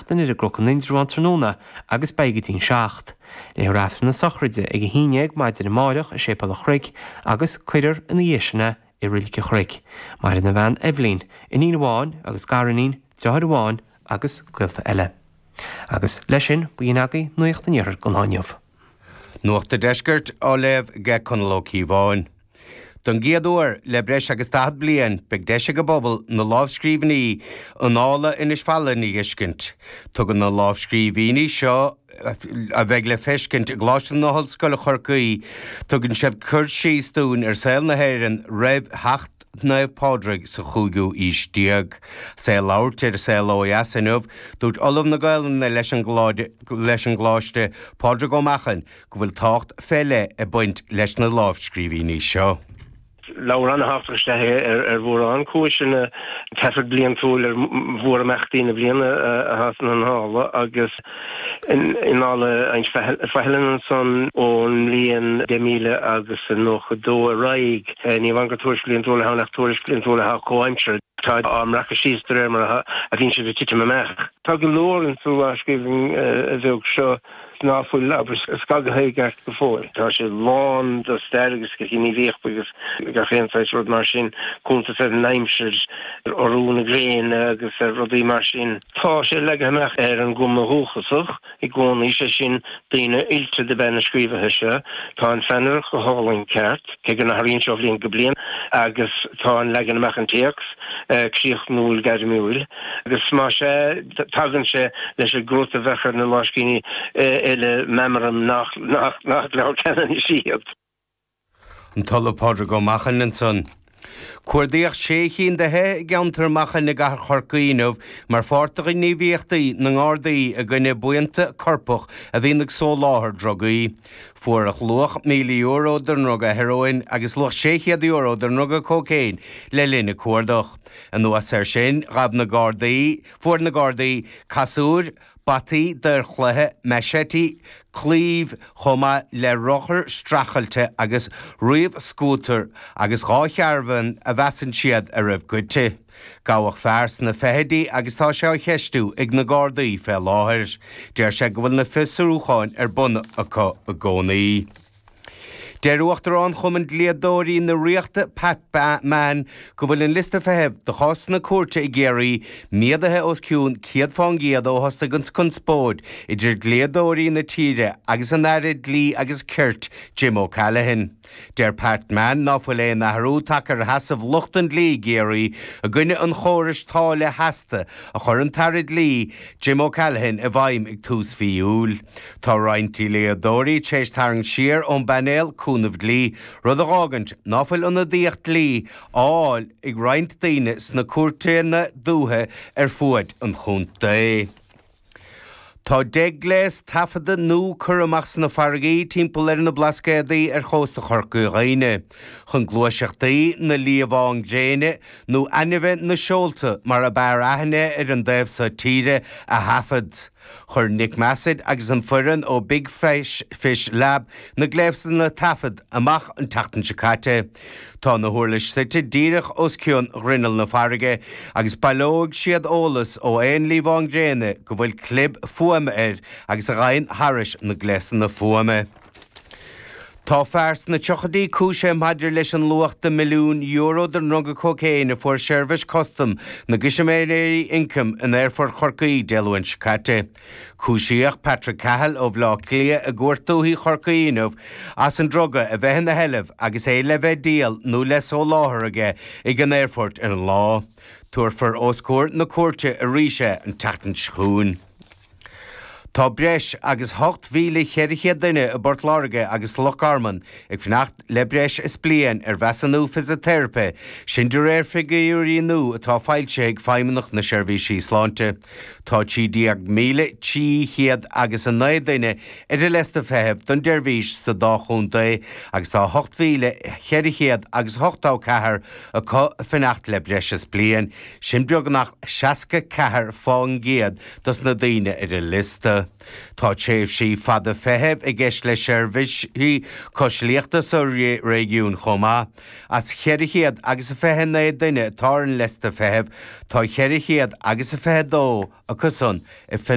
seachtain ar an gCnoc in Indreabhán tráthnóna agus beidh go dtí'n 7. Léifear Aifreann na sochraide ag 11 maidin amáireach i Séipéal an Chnoic agus cuirfear ina dhiaidh sin é i Reilig an Chnoic. Maireann a bhean Eibhlín, iníon amháin agus gariníon, deartháir amháin agus gaolta eile. Agus leis sin, b'in agaibh Nuacht an Iarthair don lá inniu. Nuacht an Deiscirt á léamh ag Conall Ó Cíobháin. Don gcéad uair le breis agus 40 bliain, beidh deis ag an bpobal na lámhscríbhinní Annála Inis Faithleann a fheiscint. Tugann na lámhscríbhinní seo, a bheidh le feiscint i gColáiste na hOllscoile Chorcaí, tugann siad cur síos dúinn ar saol na hÉireann roimh theacht Naomh Pádraig sa chúigiú aois déag. 'S é ag labhairt ar Saol Ó Dheas inniu, dúirt Ollamh na Gaelainne leis an gColáiste, Pádraig Ó Machain, go bhfuil tábhacht fé leith ag baint leis na lámhscríbhinní seo. Leabhar an-thábhachtach is ea é ar mhórán cúiseanna. Taifead bliantúil ar mhórimeachtaí na bliana atá sna hAnnála agus in Annála Inse Faithleann ansan ón mbliain 10,000 agus 92 ar aghaidh. Ní amháin gur tuairisc bhliantúil atá ann ach tuairisc bhliantúil atá comhaimseartha. Tá á mbreacadh síos de réir mar a bhíonn siad ag titim amach. Tá go leor insa lámhscríbhinn bheag seo ná fuil, abair, scagaithe i gceart go fóill. Tá sé lán de stair agus de ghníomhaíocht agus gach aon saghas rud mar sin, cuntas ar an aimsir, ar urú na gréine agus ar rudaí mar sin. Tá sé leagtha amach ar an gcuma dhúchasach i gcónaí, sé sin, daoine oilte dob ea na scríobhaithe seo. Tá an pheannaireacht go hálainn ceart, cé go n-athraíonn sé ó bhliain go bliain, agus tá an leagan amach an téacs críochnúil gairmiúil. Agus más ea, tagann sé leis an gcrut a bheadh ar na lámhscríbhinní eile, meamraim nach leabhar Ceanannais iad. An tOllamh Pádraig Ó Machain ansan. Cuardaíodh sé chinn de thithe i gceantar Machain i gcathair Chorcaí inniu mar pháirt de ghníomhaíochtaí na nGardaí i gcoinne buíonta coirpeach a bhíonn ag soláthar drugaí. Fuarthas luach €1,000 de dhruga hearóin agus luach €600 de dhruga cócaon le linn an cuardach. Anuas air sin, ghabh na Gardaí, fuair na Gardaí casúir, bataí daor chloiche, machete, claímh, chomh maith le rothar streachailte agus ríomh-scútar agus 2 charbhán a mheasann siad a raibh goidte. Gabhadh fear sna fichidí agus tá sé á cheistiú ag na Gardaí fé láthair. Deir sé go bhfuil na fiosrúcháin ar bun acu i gcónaí. Deir Uachtarán Chumann Dlíodóirí na Ríochta, Pat Mann, go bhfuil an liosta feithimh do chásanna cúirte i gCiarraí méadaithe os cionn 100 fán gcéad ó thosaigh an conspóid idir dlíodóirí na tíre agus an Aire Dlí agus Cirt, Jim O'Callaghan. Deir Pat Mann ná fuil aon athrú tagtha ar sheasamh lucht an dlí i gCiarraí i gcoinne an chórais táille sheasta a chuir an tAire Dlí, Jim O'Callaghan i bhfeidhm ag tús mhí Iúil. Tá roinnt dlíodóirí tar éis tarraingt siar ón bpainéal cúnaimh dlí, rud a dh'fhágaint ná fuil ionadaíocht dlí á fháil ag roinnt daoine sna cúirteanna dúiche ar fuaid an chontae. Tá 10 gléas taifeadta nua curtha amach sna farraigí timpeall ar na Blascaodaí ar chósta Chorca Dhuibhne chun gluaiseachtaí na liamhán gréine nó ainmhithe na seolta mar ab fhearr aithne ar an dtaobh so tíre a thaifead. Chuir Nick Massett agus an foireann ó Big Fish Lab na gléasanna taifead amach an tseachtain seo caite. Tá na huirlis suite díreach os cionn ghrinneall na farraige agus baileoidh siad eolas ó aon liamhán gréine go bhfuil clib fuaime air agus a ghabhann thairis na gléasanna fuaime. Tá fear sna tríochaidí cúisithe maidir leis an luach de €1,000,000 de dhruga cócaon a fuair Seirbhís Custam na gCoimisinéirí Ioncaim in Aerfort Chorcaí Dé Luain seo caite. Cúisíodh Patrick Cahill ó Bhaile Átha Cliath i gCúirt Dúiche Chorcaí inniu as an druga a bheith ina sheilbh agus é le bheith díol nó le soláthar aige ag an aerfort ar an lá. Tabharfar os comhair na cúirte arís é an tseachtain seo chugainn. Tá breis agus 8,400 duine i bPort Láirge agus Loch Garman ag fanacht le breis is bliain ar mheasúnú fisiteiripe, sin de réir figiúirí nua atá foilsithe ag Feidhmeannacht na Seirbhísí Sláinte. Tá 13,300 agus 9 duine ar an liosta feithimh don tseirbhís sa dá chontae agus tá 8,400 agus 84 acu ag fanacht le breis is bliain, sin beagnach 64 fán gcéad dos na daoine ar an liosta. Tá tréimhsí fada feithimh i gceist le seirbhísí coisliachta sa réigiún chomh maith. As 400 agus 29 duine atá ar an liosta feithimh, tá 400 agus 22 acusan ag.